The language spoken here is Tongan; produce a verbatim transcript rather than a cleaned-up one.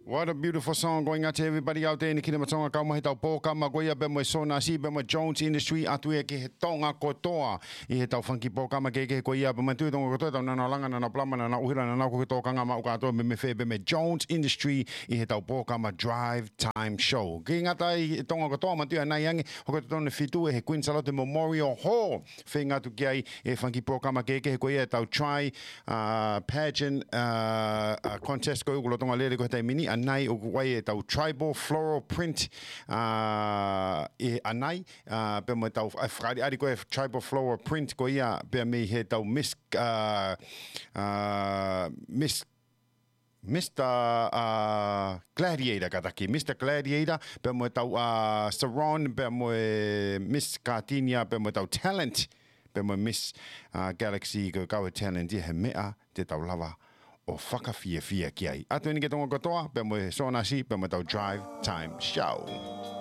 What a beautiful song going out to everybody out there in the Kingdom of Tonga. Kau mai he tau pōkama ko ia pea mo e Sonasi, pea mo e Jones Industry, ʻatu ia ki he Tonga kotoa ʻi he tau fanga kiʻi pōkama kehekehe ko ia, pea mo e tui Tonga kotoa, tau nana langa, nana palama, nana ʻuhila, nana ko ke tōkanga maʻu kātoa mei he fē, pea mo e Jones Industry ʻi he tau pōkama Drive Time Show. Ke ngata ai e Tonga kotoa, manatuʻi ʻanai ange, hoko totonu e fitu ʻe he Queen Salote Memorial Hall. Feinga atu ki ai e fanga kiʻi pōkama kehekehe ko ia e tau Tri, uh, Pageant, uh, uh, Contest ko ia ʻoku lolotonga lele ko ia he taimi ni, ʻanai ʻoku ʻi ai e tau Tribal Floral Print, uh, ʻi ʻanai, uh, pea mo e tau, uh, fakaʻaliʻali ko ia e Tribal Floral Print ko ia pea mei he tau Miss, uh, uh, Miss Mister, uh, Gladiator kātaki, Mister Gladiator, pea mo e tau, uh, Saron, pea mo e Miss Gardenia, pea mo e tau Talent, pea mo e Miss, uh, Galaxy, ko e kau e Talent ia he meʻa te tau lava ʻo fakafiefia ki ai. ʻAtu eni ki he Tonga kotoa, pea mo e Sonasi, pea mo e tau Drive Time Show.